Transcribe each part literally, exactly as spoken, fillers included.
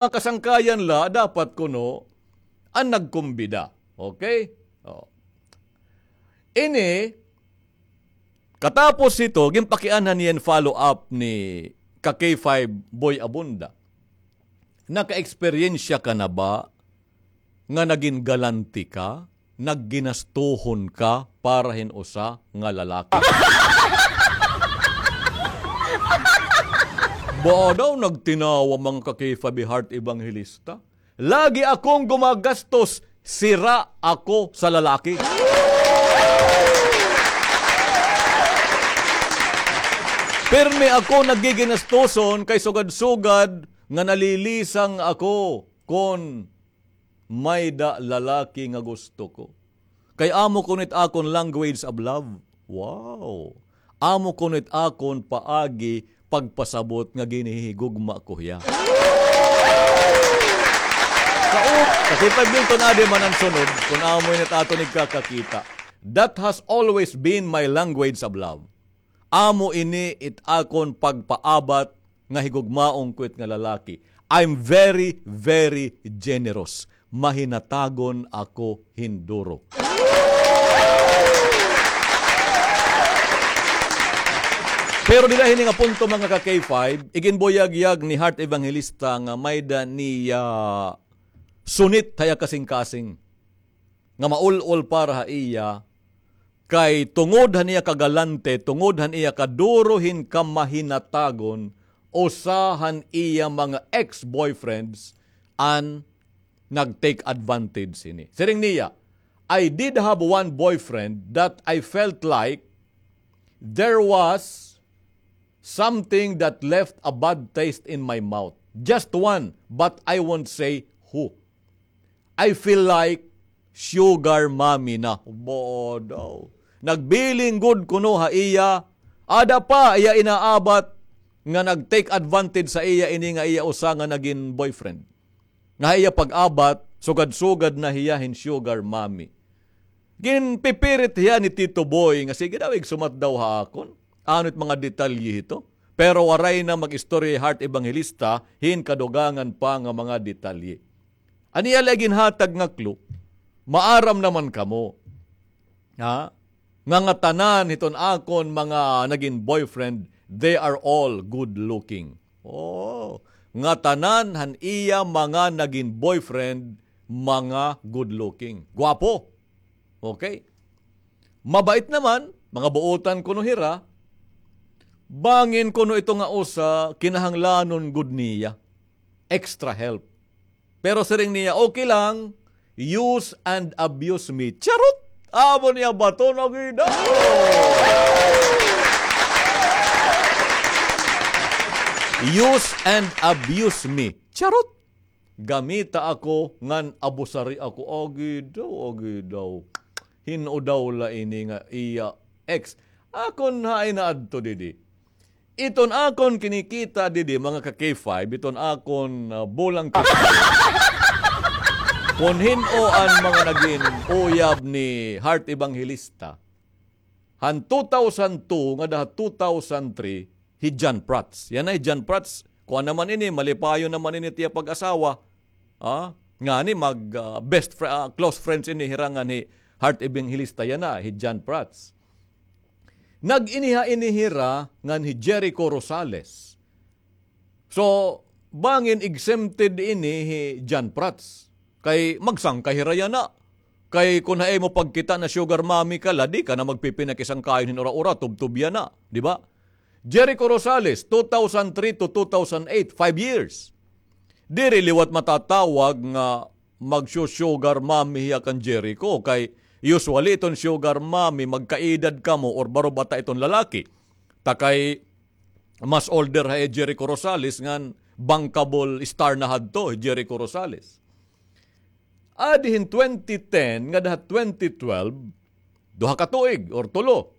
mga kasangkayan la, dapat kuno an nagkumbida. Okay? O. Ini, katapos hito, ginpakianhan niyan follow up ni ka K five Boy Abunda. Nakaeksperyensya ka na ba nga nagin galante ka, nagginastuhon ka para hin usa nga lalaki? Ba daw nagtinawa mga ka K five Heart Evangelista? Lagi akong gumagastos, sira ako sa lalaki. Pirmi ako nagiginastoson kay sugad-sugad nga nalilisang ako kon may-da lalaki nga gusto ko. Kay amo kuno it akon language of love. Wow! Amo kuno it akon paagi pagpasabot nga ginhihigugma ko hiya. Sa u-, sa K five Milton, adi man an sunod, kun amo ini it aton igkakakita. That has always been my language of love. Amo ini it akon pagpaabat nga higugmaon ko it nga lalaki. I'm very, very generous. Mahinatagon ako hin duro. Pero dida hini nga punto, mga ka K five, iginbuyagyag ni Heart Evangelista nga may-da niya sunit ha iya kasingkasing nga maul-ol para ha iya, kay tungod han iya kagalante, tungod han iya kaduro hin kamahinatagon, usa han iya mga ex-boyfriends an nag-take advantage hini. Siring niya, "I did have one boyfriend that I felt like there was something that left a bad taste in my mouth. Just one, but I won't say who. I feel like sugar mommy na." Ba daw. Nagbiling gud kuno ha iya. Ada pa iya inaabat nga nag-take advantage sa iya ini nga iya usa nga nagin boyfriend. Nga ha iya pag-abat, sugad-sugad na hiya hin sugar mommy. Ginpipirit hiya ni Tito Boy nga sige daw, igsumat daw ha akon ano it mga detalye hito. Pero waray na mag-istorya hi Heart Evangelista hin kadugangan pa nga mga detalye. An iya la ginhatag nga clue, maaram naman kamo, ha? Nga ngatanan hiton akon mga nagin boyfriend, they are all good looking. Oh, ngatanan han iya mga nagin boyfriend, mga good looking. Gwapo. Okay? Mabait naman, mga buotan kuno hira, bangin kuno ito nga usa, kinahanglanon gud niya extra help. Pero siring niya, "Okay lang, use and abuse me." Charot! Amo niya baton, agi daw. "Use and abuse me." Charot! Gamita ako ngan abusari ako. Agi daw, agi daw. Hin-o daw la ini nga iya ex. Akon hain na adto didi. Iton akon kinikita didi, mga ka K five, iton akon, ah, bulang ka. Kon hin-o an mga nagin uyab ni Heart Evangelista, han two thousand two ngada ha two thousand three, hi John Prats. Yana hi John Prats, kuan naman ini, malipayon naman ini it iya pag-asawa. Ah, ngani mag, ah, best fri-, ah, close friends ini hira ngan hi Heart Evangelista yana, hi John Prats. Nag-iniha ini hira ngan hi Jericho Rosales. So, bangin exempted ini hi John Prats. Kay magsangkay hira yana. Kay kon ha imo pagkita na sugar mommy ka la, di ka na magpipinakisangkayon hin ura-ura, tubtob yana, di ba? Jericho Rosales, two thousand three to two thousand eight, five years. Diri liwat matatawag nga magsu-sugar mommy hiya kan Jericho. Kay usually iton sugar mommy, magkaedad kamo or baro bata iton lalaki. Ta kay mas older ha iya Jericho Rosales ngan bankable star na hadto hi Jericho Rosales. Adi hin twenty ten ngada ha twenty twelve, duha ka tuig or tulo.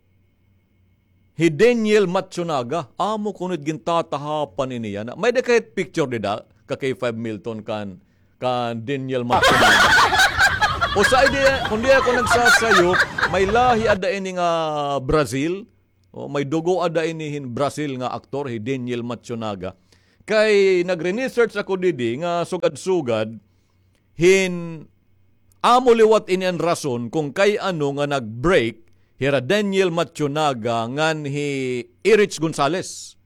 Hi Daniel Matsunaga, amo kuno it gintatahapan ini yana. May-ada kay picture dida, ka K five Milton kan, kan Daniel Matsunaga. Usa idi, kon di ako nagsasayop, may lahi ada ini nga Brazil. O, may dugo ada ini hin Brazil nga aktor, hi Daniel Matsunaga. Kay nagre-research ako didi nga sugad-sugad hin amo liwat ini an rason kon kay ano nga nag-break hira Daniel Matsunaga ngan hi Erich Gonzalez.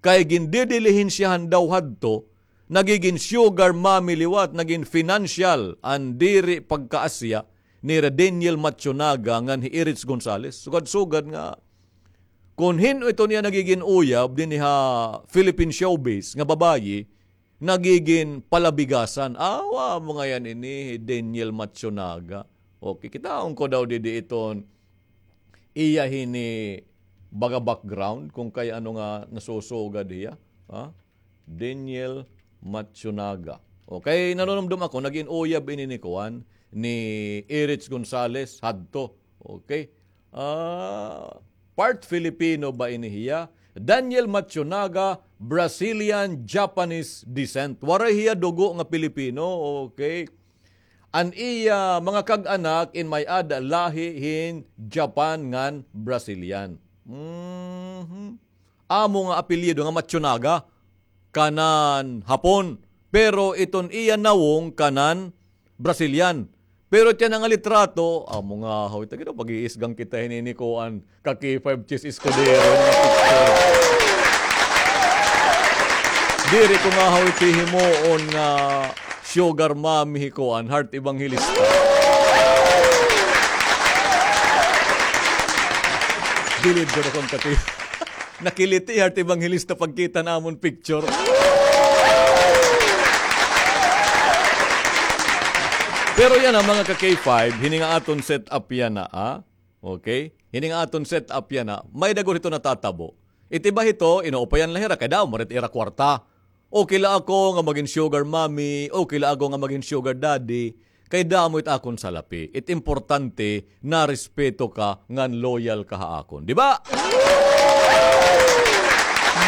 Kay gindidilihensiyahan daw hadto, nagigin sugar mommy liwat, nagin financial an diri pagkaasya nira Daniel Matsunaga ngan hi Erich Gonzalez. Sugad-sugad nga kon hin-o iton iya nagigin uyab dinhi ha Philippine showbiz nga babayi, nagigin palabigasan. Awa mo ngayan ini hi Daniel Matsunaga. Okay, kitaon ko daw didi iton iya hini baga background kon kay ano nga nasusugad hiya. Ha? Daniel Matsunaga. Okay, nanunumdom ako, nagin uyab ini ni kuan, ni Erich Gonzalez hadto. Okay. Ah, part Filipino ba ini hiya? Daniel Matsunaga, Brazilian Japanese descent. Waray hiya dugo nga Pilipino. Okay. An iya mga kag-anak in may-ada lahi hin Japan ngan Brazilian. Mhm. Amo nga apelyido nga Matsunaga, kanan Hapon, pero iton iya nawong kanan Brazilian. Pero tiyan nga litrato, amo nga, haw, ita gid, pag-iisgang kita hini ni kuan, ka K five Chis Escudero nga picture. Diri ko nga, haw, iti himuon nga sugar mommy hi kuan, Heart Evangelista. Bilib ko na kung kati. Nakiliti, Heart Evangelista, pagkita namon picture. Pero yana, mga ka K five, hini nga aton set up yana, ah. Okay? Hini nga aton set up yana, may-ada gud hito natatabo. Iti iba hito, inuupayan la hira, kay damo man it ira kwarta. Okay la ako nga magin sugar mommy, okay la ako nga magin sugar daddy, kay damo it akon salapi. It importante, narespeto ka, ngan loyal ka ha akon. Di ba?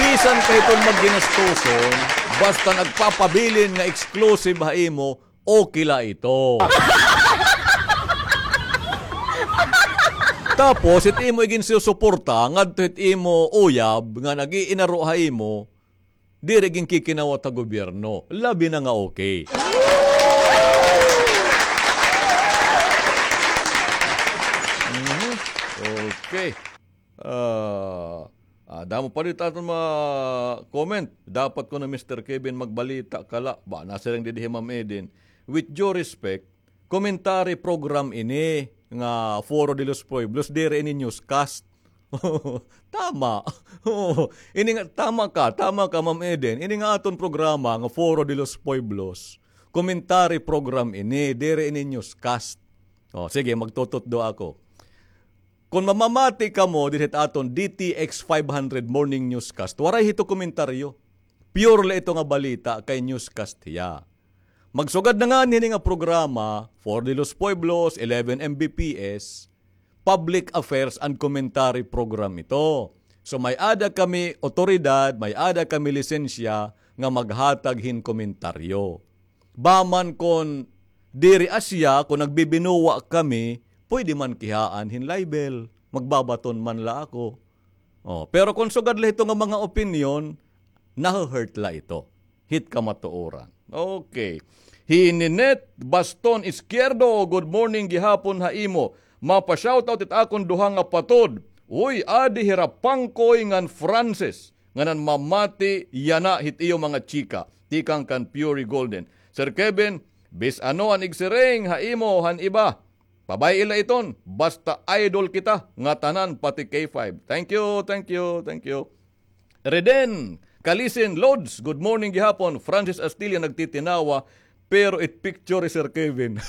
Bisan ka hiton magginastoson, basta nagpapabilin nga exclusive ha imo, okay la ito. Tapos, it imo iginsusuporta, ngadto it imo uyab, nga nag-iinaro ha imo, diri ginkikinawat ha gobyerno. Labi na nga okay. Mhm. Okay. Ah, ah, damo pa dito aton mga comment. Dapat ko na, Mister Kevin, magbalita ka la. Ba, nasiring didi hi Ma'am Eden. With due respect, commentary program ini nga Foro de los Pueblos, diri ini newscast. Tama. Oo. Ini nga, tama ka, tama ka, Ma'am Eden. Ini nga aton programa nga Foro de los Pueblos, commentary program ini, diri ini newscast. O, sige, magtututdo ako. Kon mamamati kamo dinhi ha aton D T X five hundred Morning Newscast, waray hito komentaryo. Pure la ito nga balita kay newscast hiya. Magsugad na ngani hini nga programa, Foro de los Pueblos, eleven M B P S, public affairs and commentary program ito. So, may-ada kami otoridad, may-ada kami lisensya nga maghatag hin komentaryo. Ba man kon diri asya, kon nagbibinuwa kami, pwede man kihaan hin libel. Magbabaton man la ako. Oh, pero kon sugad la hito nga mga opinyon, nahu-hurt la ito. Hit kamatuoran. Okay. Hi Ninette Baston Izquierdo, good morning gihapon ha imo. Mapa-shoutout it akon duha nga patod. Uy, adi hira Pangkoy ngan Francis. Nga nanmamati yana hit iyo mga chika, tikang kan Puree Golden. Sir Kevin, bis ano an igsiring ha imo han iba, pabay-i la iton, basta idol kita ngatanan, pati K five. Thank you, thank you, thank you. Reden Kalisin, Lods, good morning gihapon. Francis Astilla nagtitinawa, pero it picture hi Sir Kevin.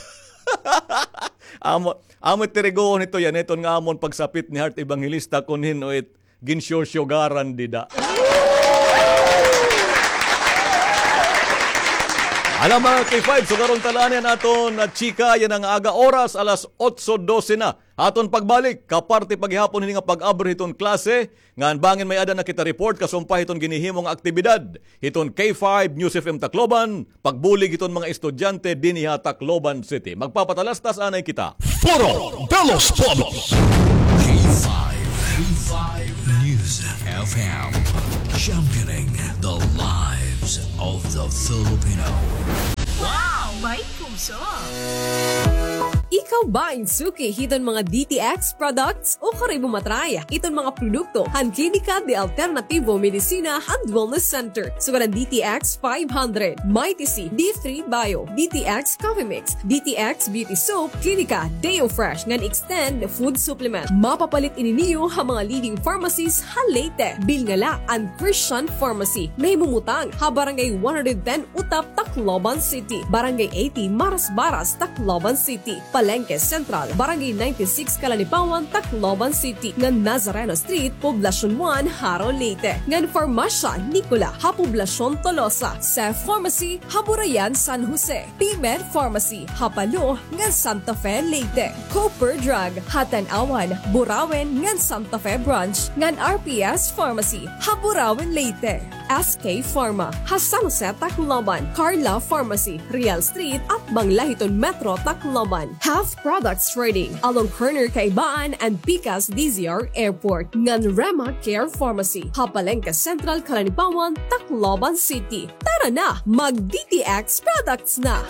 Amo, amo it tiriguhon hito yana, iton nga amon pagsapit ni Heart Evangelista kon hin-o it ginsusugaran dida. Hala, mga K five, sugaron ta la anay an aton chika yana nga aga, oras alas otso dose na. Aton pagbalik, kaparte pa gihapon hini nga pag-abri hiton klase, ngan bangin may-ada na kita report kasumpay hiton ginhihimo nga aktibidad hiton K five News F M Tacloban, pagbulig hiton mga estudyante dinhi ha Tacloban City. Magpapatalastas anay kita. Foro de los Pueblos. K five, K five News. F M, championing the lives of the Filipino. Wow! May puso! Ikaw ba in suki hiton mga D T X products? O karoy mo matry iton mga produkto han Klinika de Alternativo Medicina and Wellness Center? Sugad an D T X five hundred, Mighty C, D three Bio, D T X Coffee Mix, D T X Beauty Soap, Klinika Deo Fresh ngan Extend Food Supplement. Mapapalit ini niyo ha mga leading pharmacies ha Leyte. Bilngala an Christian Pharmacy, nahimumutang ha Barangay one hundred ten Utap, Tacloban City, Barangay eighty Marasbaras, Tacloban City, Palengke Central, Barangay ninety-six Calanipawan, Tacloban City, ngan Nazareno Street, Poblacion one, Jaro, Leyte, ngan Farmasya Nicola ha Poblacion Tolosa, Cef Pharmacy ha Burayan, San Jose, P-Med Pharmacy ha Palo ngan Santa Fe, Leyte, Cooper Drug ha Tanauan, Burauen ngan Santa Fe Branch, ngan R P S Pharmacy ha Burauen, Leyte, S K Pharma ha San Jose, Tacloban, Carla Pharmacy, Real Street, atbang la hiton Metro Tacloban, Half Products Trading along corner Kaibaan and Pikas D Z R Airport, ngan Rema Care Pharmacy ha Palengke Central, Calanipawan, Tacloban City. Tara na, mag D T X products na!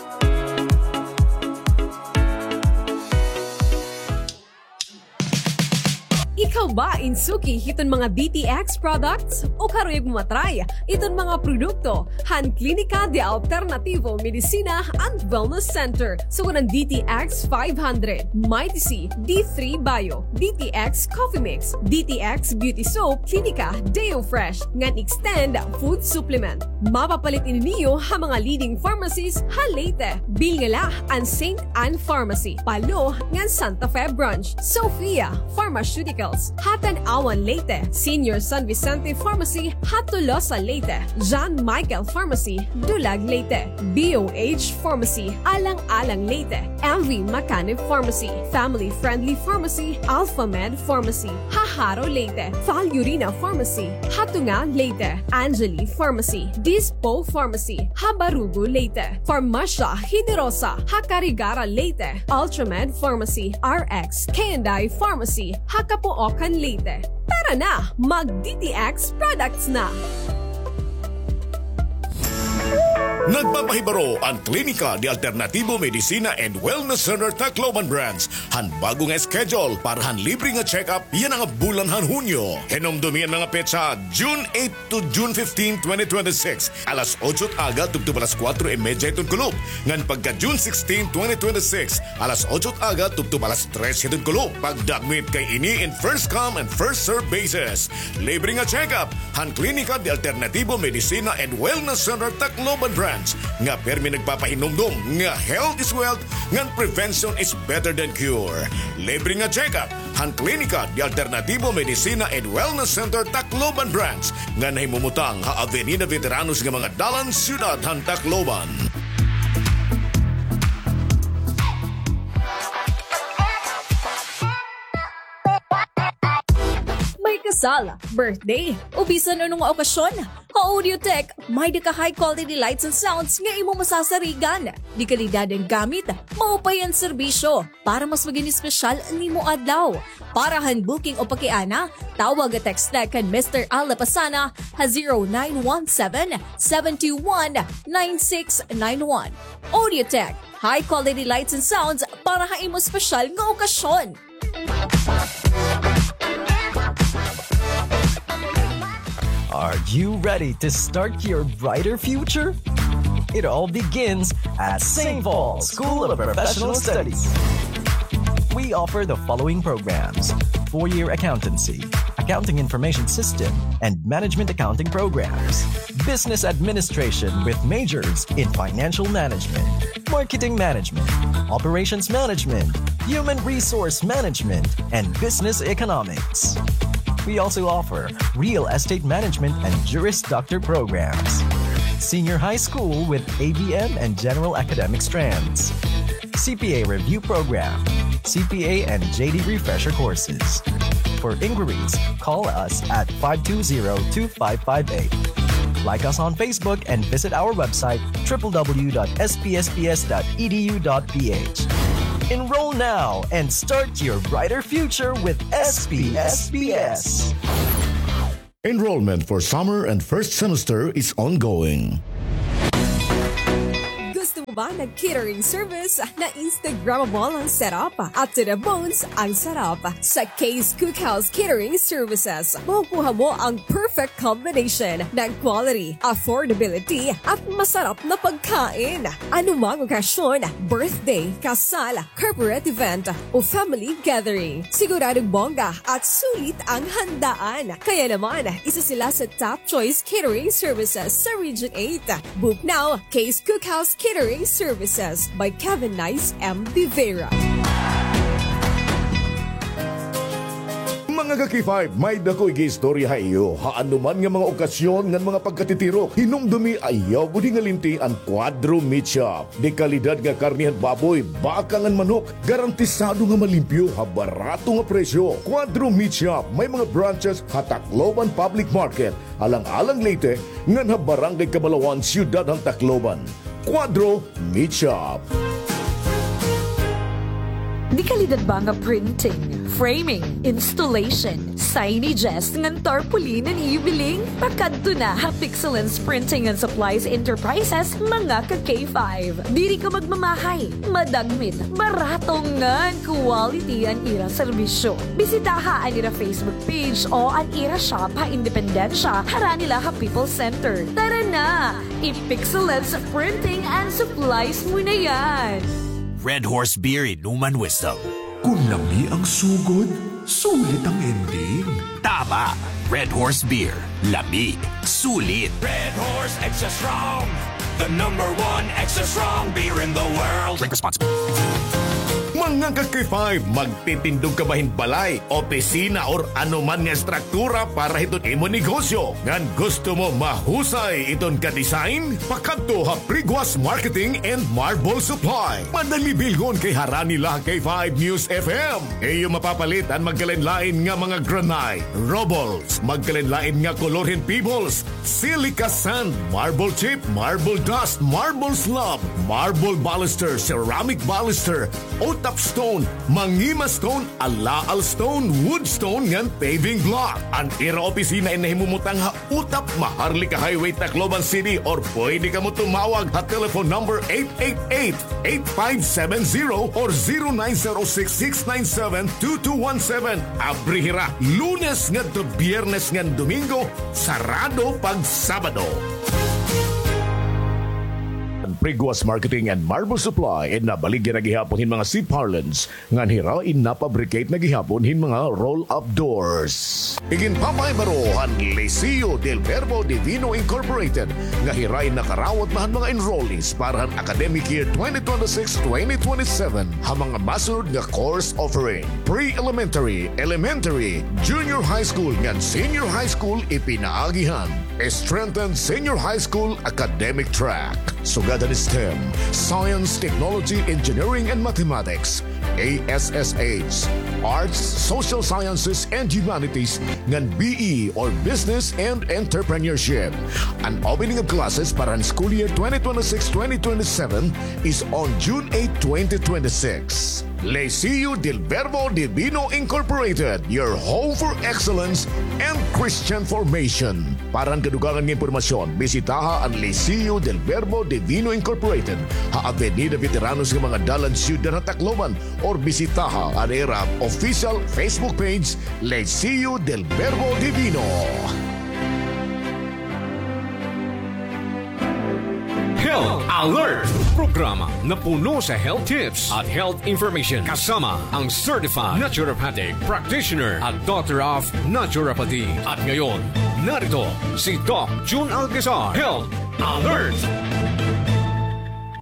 Ikaw ba in suki hiton mga D T X products? O karuyag mo matry iton mga produkto han Klinika de Alternativo Medicina and Wellness Center? Sugad an D T X five hundred, Mighty C, D three Bio, D T X Coffee Mix, D T X Beauty Soap, Klinika Deo Fresh, ngan Extend Food Supplement. Mapapalit ini niyo ha mga leading pharmacies ha Leyte. Bilngala an Saint Ann Pharmacy, Palo, ngan Santa Fe Branch, Sophia Pharmaceuticals ha Tanauan, Leyte, Senior San Vicente Pharmacy ha Tolosa, Leyte, John Michael Pharmacy, Dulag, Leyte, B O H Pharmacy, Alang-alang, Leyte, M V Macanib Pharmacy, Family Friendly Pharmacy, Alpha Med Pharmacy ha Jaro, Leyte, Falurina Pharmacy ha Tunga, Leyte, Angeli Pharmacy, Dispo Pharmacy ha Barugo, Leyte, Farmasya Generosa ha Carigara, Leyte, Ultramed Pharmacy, R X K and I Pharmacy ha Capoocan, Leyte. Tara na, mag D T X products na! Nagpapahibaro an Klinika de Alternativo Medicina and Wellness Center Tacloban Branch han bag-o nga schedule para han libre nga check-up yana nga bulan han Hunyo. Hinumdumi an mga petsa, June eight to June fifteen, twenty twenty-six, alas otso it aga tubtob alas kuwatro y medya hiton kulop, ngan pagka June sixteen, twenty twenty-six, alas otso it aga tubtob alas tres hiton kulop. Pagdagmit kay ini in first come and first serve basis. Libre nga check-up han Klinika de Alternativo Medicina and Wellness Center Tacloban Branch, nga pirmi nagpapahinumdom nga health is wealth ngan prevention is better than cure. Libre nga check-up han Klinika de Alternativo Medicina and Wellness Center Tacloban Branch, nga nahimumutang ha Avenida Veteranos nga mga dalan, siyudad han Tacloban. May kasal, birthday, o bisan ano nga okasyon, ha Audiotech, may-ada ka high quality lights and sounds nga imo masasarigan. De kalidad an gamit, maupay an serbisyo. Para mas magin espesyal an imo adlaw. Para han booking o pakiana, tawag o text la kan Mister Al Lapasana ha zero nine one seven, seven two one, nine six nine one. Audiotech, high quality lights and sounds para ha imo espesyal nga okasyon. Are you ready to start your brighter future? It all begins at Saint Paul's School of Professional Studies. We offer the following programs: four-year accountancy, accounting information system, and management accounting programs, business administration with majors in financial management, marketing management, operations management, human resource management, and business economics. We also offer real estate management and Juris Doctor programs, senior high school with A B M and general academic strands, C P A review program, C P A and J D refresher courses. For inquiries, call us at five two zero, two five five eight. Like us on Facebook and visit our website, triple W dot S P S P S dot E D U dot P H. Enroll now and start your brighter future with S P S P S. Enrollment for summer and first semester is ongoing. Gusto mo ba ng catering service na Instagrammable ang setup at to the bones ang sarap? Sa Kay's Cookhouse Catering Services, makukuha mo ang perfect combination ng quality, affordability, at masarap na pagkain. Anumang okasyon, birthday, kasal, corporate event, o family gathering, siguradong bongga at sulit ang handaan. Kaya naman, isa sila sa top choice catering services sa Region eight. Book now, Kay's Cookhouse Catering Services by Kevin Nice M. Vivera. Mga ka-K five, may-ada ko igiistorya ha iyo. Ha anuman nga mga okasyon ngan mga pagkatitirok, hinumdumi ayaw gud hingalinti an Cuadro Meat Shop. De kalidad nga karne han baboy, baka ngan manok, garantisado nga malimpyo ha barato nga presyo. Cuadro Meat Shop may mga branches ha Tacloban Public Market, Alang-alang, Leyte, ngan ha Barangay Cabalawan, Siyudad han Tacloban. Cuadro Meat Shop. De kalidad ba nga printing, framing, installation, signages, ngan tarpaulin an iyo biling? Pakadto na ha Pixelens Printing and Supplies Enterprises, mga ka-K five. Diri ka magmamahay, madagmit, barato ngan quality an ira serbisyo. Bisitaha an ira Facebook page o an ira shop ha Independencia, harani la ha People's Center. Tara na! I-Pixelens Printing and Supplies mo na yan! Red Horse Beer, inuman wisdom. Kung lami ang sugod, sulit ang ending. Tama! Red Horse Beer. Lami. Sulit. Red Horse Extra Strong, the number one extra strong beer in the world. Drink responsibly. Mga ka-K five, magtitindog ka ba hin balay, opisina, or anuman nga estruktura para hiton imo negosyo? Ngan gusto mo mahusay iton ka-design? Pakadto ha Priguas Marketing and Marble Supply. Madali bilhon kay harani la ha K five News F M. Iyo mapapalit an magkalain-lain nga mga granite, rubbles, magkalain-lain nga kolor hin pebbles, silica sand, marble chip, marble dust, marble slab, marble baluster, ceramic baluster, utap stone, mangima stone, alaal stone, wood stone, ngan paving block. An ira opisina in nahimumutang ha Utap, Maharlika Highway, Tacloban City, or pwede kamo tumawag ha telephone number eight eight eight, eight five seven zero or zero nine zero six, six nine seven, two two one seven. Abri hira Lunes ngadto Biyernes ngan Domingo, sarado pag Sabado. An Priguas Marketing and Marble Supply in nabaligya na gihapon hin mga C-parlance ngan hira in napabricate na gihapon hin mga roll-up doors. Iginpapahibaro han Liceo del Verbo Divino Incorporated nga hira in nakarawat na han mga enrollees para han academic year twenty twenty-six, twenty twenty-seven ha mga masunod nga course offering: pre-elementary, elementary, junior high school, ngan senior high school. Ipinaagi han strengthened senior high school academic track, sugad han STEM, Science, Technology, Engineering, and Mathematics, A S S H, Arts, Social Sciences, and Humanities, ngan B E or Business and Entrepreneurship. An opening of classes para han school year twenty twenty-six, twenty twenty-seven is on June eight, twenty twenty-six. Liceo del Verbo Divino Incorporated, your home for excellence and Christian formation. Para han kadugangan nga impormasyon, bisitaha an Liceo del Verbo Divino Incorporated ha Avenida Veteranos nga mga dalan, Siyudad ha Tacloban, or bisitaha an ira official Facebook page, Liceo del Verbo Divino. Health Alert! Programa na puno sa health tips at health information, kasama ang certified naturopathic practitioner at Doctor of Naturopathy. At ngayon, narito si Doc Jun Alcazar, Health Alert!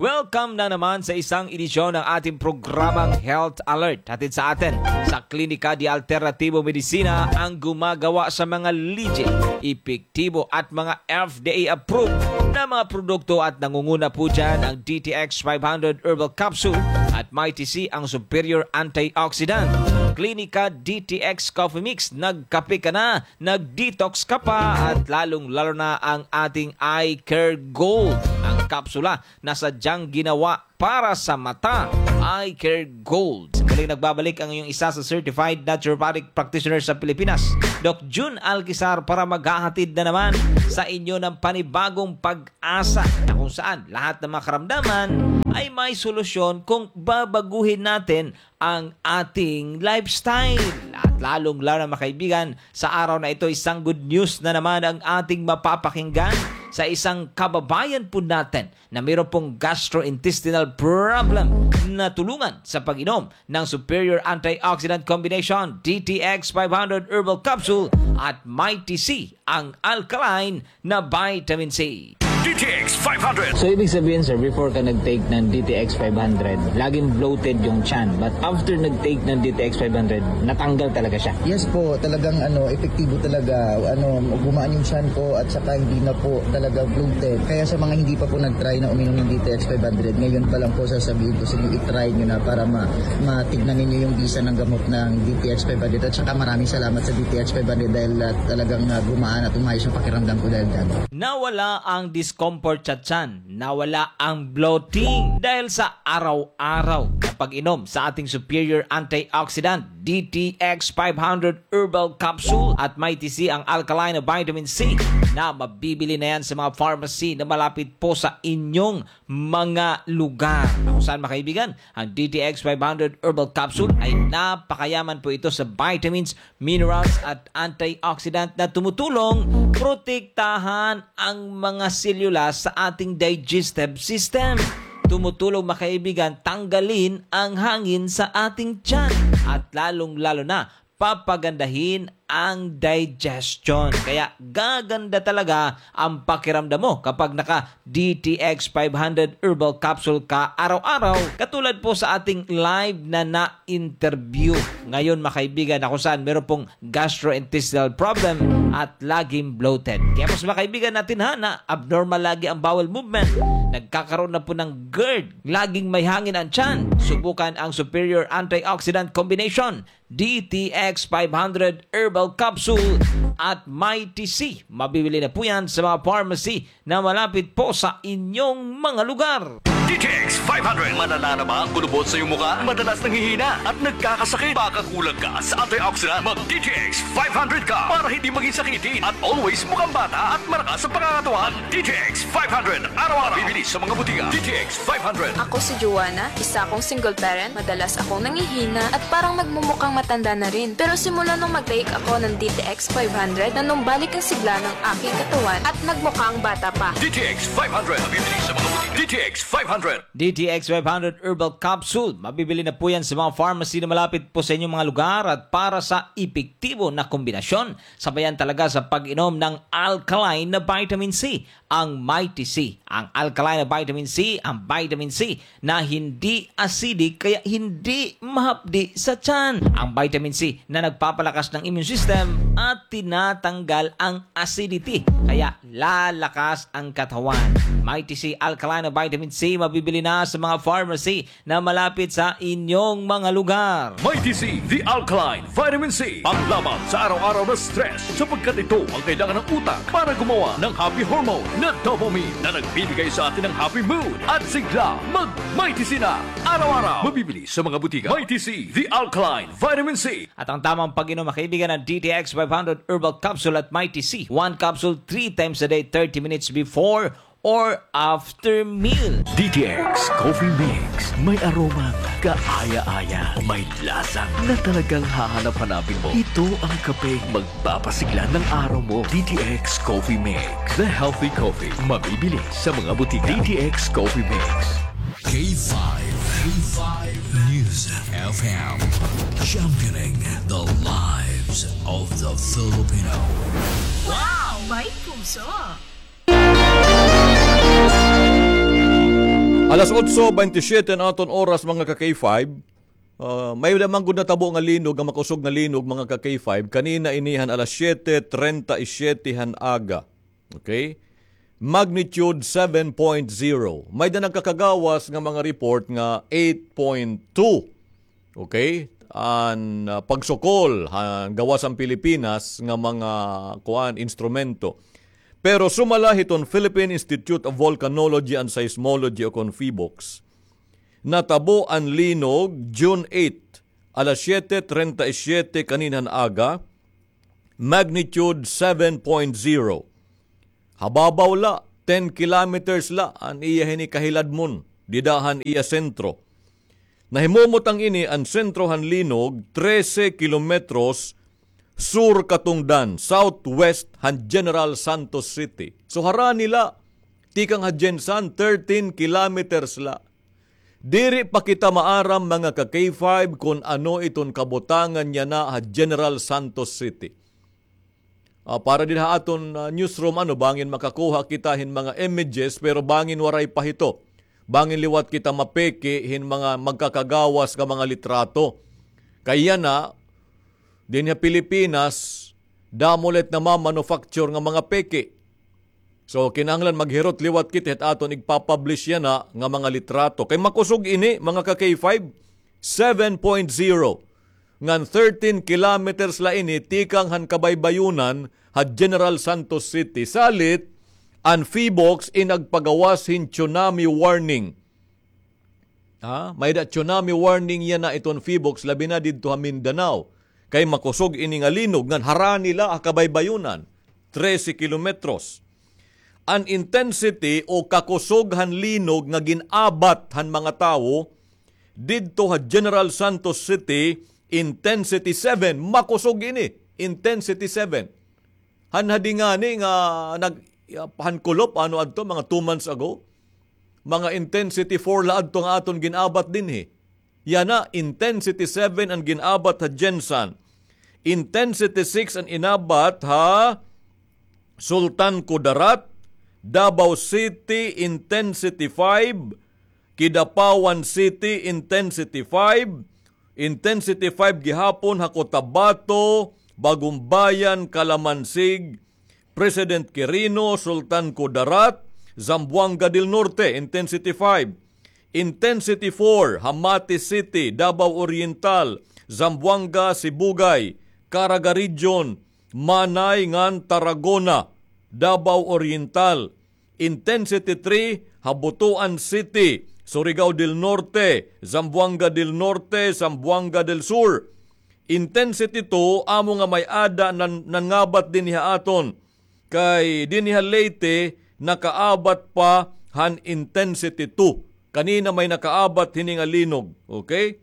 Welcome na naman sa isang edisyon ng ating programang Health Alert. Hatid sa atin sa Klinika de Alternativo Medicina, ang gumagawa sa mga legit, epektibo at mga F D A approved na mga produkto, at nangunguna po dyan ang D T X five hundred Herbal Capsule at Mighty C, ang superior antioxidant. Klinika D T X Coffee Mix, nagkape ka na, nag-detox ka pa, at lalong-lalo na ang ating Eye Care Gold, ang kapsula na sadyang ginawa para sa mata, Eye Care Gold. Muling nagbabalik ang iyong isa sa certified naturopathic practitioner sa Pilipinas, Doc Jun Alquizar para maghahatid na naman sa inyo ng panibagong pag-asa na kung saan lahat ng mga karamdaman ay may solusyon kung babaguhin natin ang ating lifestyle. At lalong-lalo na, mga kaibigan, sa araw na ito, isang good news na naman ang ating mapapakinggan sa isang kababayan po natin na mayroon pong gastrointestinal problem na tulungan sa pag-inom ng Superior Antioxidant Combination, D T X five hundred Herbal Capsule at Mighty C, ang alkaline na vitamin C. D T X five hundred. So, ibig sabihin, sir, before ka nag-take ng D T X five hundred, laging bloated yung tiyan. But after nag-take ng D T X five hundred, natanggal talaga siya. Yes po, talagang ano, epektibo talaga. Ano, gumaan yung tiyan ko at saka hindi na po talaga bloated. Kaya sa mga hindi pa po nag-try na uminom ng D T X five hundred, ngayon pa lang po sasabihin ko sa inyo, i-try nyo na para ma matignan ninyo yung bisa ng gamot ng D T X five hundred. At saka maraming salamat sa D T X five hundred dahil ah, talagang ah, gumaan at umayos yung pakiramdam ko dahil dyan. Nawala ang discomfort sa tiyan, nawala ang bloating dahil sa araw-araw na pag-inom sa ating superior antioxidant, D T X five hundred Herbal Capsule at Mighty C, ang alkaline na vitamin C, na mabibili na yan sa mga pharmacy na malapit po sa inyong mga lugar. Na kung saan, mga kaibigan, ang D T X five hundred Herbal Capsule ay napakayaman po ito sa vitamins, minerals at antioxidant na tumutulong protektahan ang mga selula sa ating digestive system. Tumutulong, mga kaibigan, tanggalin ang hangin sa ating tiyan at lalong-lalo na papagandahin ang digestion. Kaya gaganda talaga ang pakiramdam mo kapag naka D T X five hundred Herbal Capsule ka araw-araw. Katulad po sa ating live na na-interview ngayon, mga kaibigan, na kung saan meron pong gastrointestinal problem at laging bloated. Kaya po sa mga kaibigan natin ha, na abnormal lagi ang bowel movement, nagkakaroon na po ng GERD, laging may hangin ang tiyan, subukan ang Superior Antioxidant Combination, D T X five hundred Herbal Capsule at Mighty C. Mabibili na po yan sa mga pharmacy na malapit po sa inyong mga lugar. D T X five hundred. Malala na ba ang kulubot sa iyong mukha? Madalas nanghihina at nagkakasakit? Baka kulang ka sa antioxidant? Mag D T X five hundred ka para hindi maging sakitin at always mukhang bata at malakas ang pangangatawan. D T X five hundred. Araw-araw. Bibili sa mga butika. D T X five hundred. Ako si Joanna, isa akong single parent. Madalas akong nangihina at parang nagmumukhang matanda na rin. Pero simula nung mag-take ako ng D T X five hundred, nanumbalik ang sigla ng aking katawan at nagmukhang bata pa. D T X five hundred. Mabibili sa mga butika. D T X five hundred. D T X five hundred Herbal Capsule. Mabibili na po yan sa mga pharmacy na malapit po sa inyong mga lugar at para sa epektibo na kombinasyon, sabayan talaga sa pag-inom ng alkaline na vitamin C, ang Mighty C. Ang alkaline na vitamin C, ang vitamin C na hindi acidic kaya hindi mahapdi sa tiyan. Ang vitamin C na nagpapalakas ng immune system at tinatanggal ang acidity kaya lalakas ang katawan. Mighty C alkaline na vitamin C mabibili na sa mga pharmacy na malapit sa inyong mga lugar. Mighty C, the alkaline vitamin C. Panglaban sa araw-araw na stress, sapagkat ito ang kailangan ng utak para gumawa ng happy hormone na dopamine na nagbibigay sa atin ng happy mood at sigla. Mag Mighty C na araw-araw. Mabibili sa mga butika. Mighty C, the alkaline vitamin C. At ang tamang pag-inom, mga kaibigan, ng D T X five hundred Herbal Capsule at Mighty C. One capsule three times a day, thirty minutes before or after meal. D T X Coffee Mix. May aromang kaaya-aya. May lasa na talagang hahanap-hanapin mo. Ito ang kapeng magpapasigla ng araw mo. D T X Coffee Mix. The healthy coffee. Mabibili sa mga butika. D T X Coffee Mix. K five. K five News F M. Championing the lives of the Filipino. Wow! May puso! Alas otso bentisiete an aton oras, mga ka-K five. Ah, may-ada man gud natabo nga linog, nga makusog nga linog, mga ka-K five. Kanina ini han alas siyete treinta y siete han aga. Okay? Magnitude seven point zero. May-ada nagkakagawas nga mga report nga eight point two. Okay? An, ah, pagsukol han gawas han Pilipinas nga mga, kuan, instrumento. Pero sumala hiton Philippine Institute of Volcanology and Seismology o kon PHIVOLCS, natabo an linog June eight, alas siyete treinta y siete kaninhan aga, Magnitude seven point zero. Hababaw la, ten kilometers la an iya hini kahiladmon dida han iya sentro. Nahimumutang ini an sentro han linog trese kilometros sur katungdan, southwest han General Santos City. So, harani la, tikang ha GenSan, thirteen kilometers la. Diri pa kita maaram, mga ka-K five, kon ano iton kabutangan yana ha General Santos City. Ah, para dida ha aton, ah, newsroom, ano, bangin makakuha kita hin mga images, pero bangin waray pa hito. Bangin liwat kita mapeke hin mga magkakagawas nga mga litrato. Kay yana, dinhi ha Pilipinas, damo la it namamanufacture nga mga peke. So, kinahanglan maghirot liwat kita hit aton igpapublish yana nga mga litrato. Kay makusog ini, mga ka-K five, seven point zero. Ngan thirteen kilometers la ini tikang han kabaybayunan ha General Santos City. Salit, an PHIVOLCS in nagpagawas hin tsunami warning. Ha? May-ada tsunami warning yana iton PHIVOLCS, labi na didto ha Mindanao. Kay makusog ini nga linog, ngan harani la ha kabaybayunan, trese kilometros. An intensity o kakusog han linog nga gin-abat han mga tawo didto ha General Santos City, intensity seven, makusog ini, intensity seven. Han hadi ngani nga nag-, han kulop, ano adto, mga two months ago, mga intensity four la adto nga aton gin-abat dinhi. Yana, intensity seven an gin-abat ha GenSan. Intensity six an inabat ha Sultan Kudarat, Davao City, intensity five, Kidapawan City, intensity five, intensity five gihapon ha Cotabato, Bagumbayan, Calamansig, President Quirino, Sultan Kudarat, Zamboanga del Norte, intensity five. Intensity four, ha Mati City, Davao Oriental, Zamboanga, Sibugay, Caraga Region, Manay ngan Tarragona, Davao Oriental. Intensity three, ha Butuan City, Surigao del Norte, Zamboanga del Norte, Zamboanga del Sur. Intensity two, amo nga may-ada nan-, nangabat dinhi ha aton. Kay dinhi ha Leyte, nakaabat pa han intensity two. Kanina may nakaabat hini nga linog. Okay?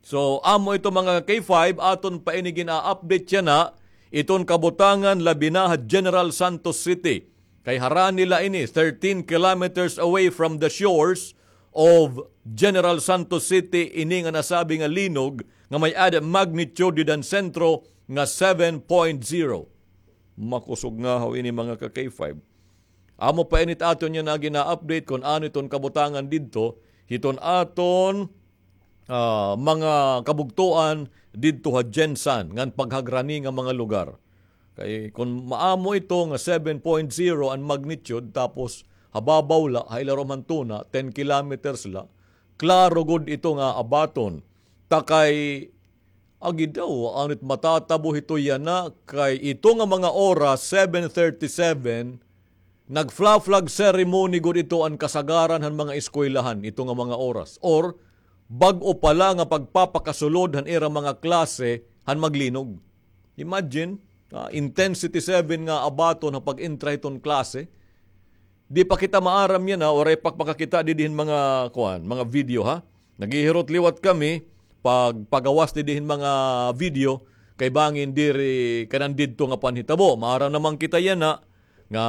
So, amo ito, mga K five, aton pa ini gina-update yana, iton kabutangan labi na ha General Santos City. Kay harani la ini, thirteen kilometers away from the shores of General Santos City, ini nga nasabi nga linog nga may-ada magnitude dida han sentro nga seven point zero. Makusog ngahaw ini, mga ka-K five. Amo pa ini it aton yana gina-update kon ano iton kabutangan didto, hiton aton, ah, mga kabugtoan didto ha GenSan, ngan paghagrani nga mga lugar. Kay kon maamo ito nga seven point zero an magnitude, tapos hababaw la, ha ilarom han tuna, ten kilometers la, klaro gud ito nga abaton. Ta kay Agi daw, ano it matatabo hito yana, kay ito nga mga oras, seven thirty-seven, nag-fla-, flag ceremony gud ito an kasagaran han mga eskwelahan, ito nga mga oras. Or, bag-o pa la nga pagpapakasulod han ira mga klase han maglinog. Imagine, ah, intensity seven nga abaton ha pag-entra hiton klase. Di pa kita maaram yana, waray pa pakakita didi hin mga, kuan, mga video, ha. Naghihirot liwat kami pagpagawas didi hin mga video, kay bangin diri kanan didto nga panhitabo. Maaram naman kita yana, nga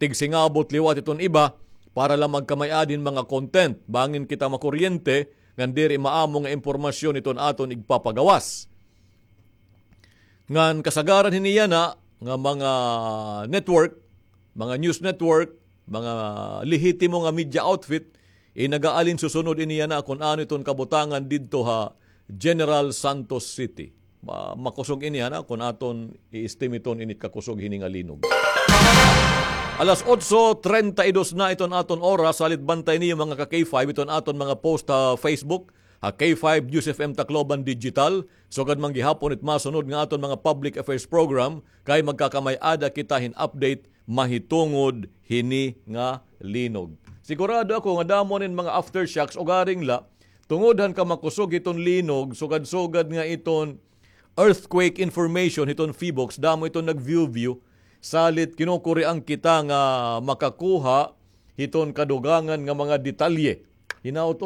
tigsingabot liwat iton iba, para la magkamay-ada hin mga content. Bangin kita makuryente, ngan diri maamo nga impormasyon iton aton igpapagawas. Ngan kasagaran hini yana nga mga network, mga news network, mga lehitimo nga media outfit, eh, nag-aalin susunod ini yana kon ano iton kabutangan didto ha General Santos City. Ma-, makusog ini yana kon aton i-estimate-on ini kakusog hini nga linog. Alas otso treinta y dos na iton aton oras, salit bantay niyo mga ka-K five iton aton mga post ha Facebook, ha K five News F M Tacloban Digital. Sugad man gihapon it masunod nga aton mga public affairs program, kay magkakamay-ada kita hin update mahitungod hini nga linog. Sigurado ako nga damo nin mga aftershocks, ugaring la, tungod han kamakusog hiton linog, sugad-sugad nga iton earthquake information hiton PHIVOLCS, damo iton nag-view-view, salit kinukurian kita nga makakuha hiton kadugangan nga mga detalye. Hinaot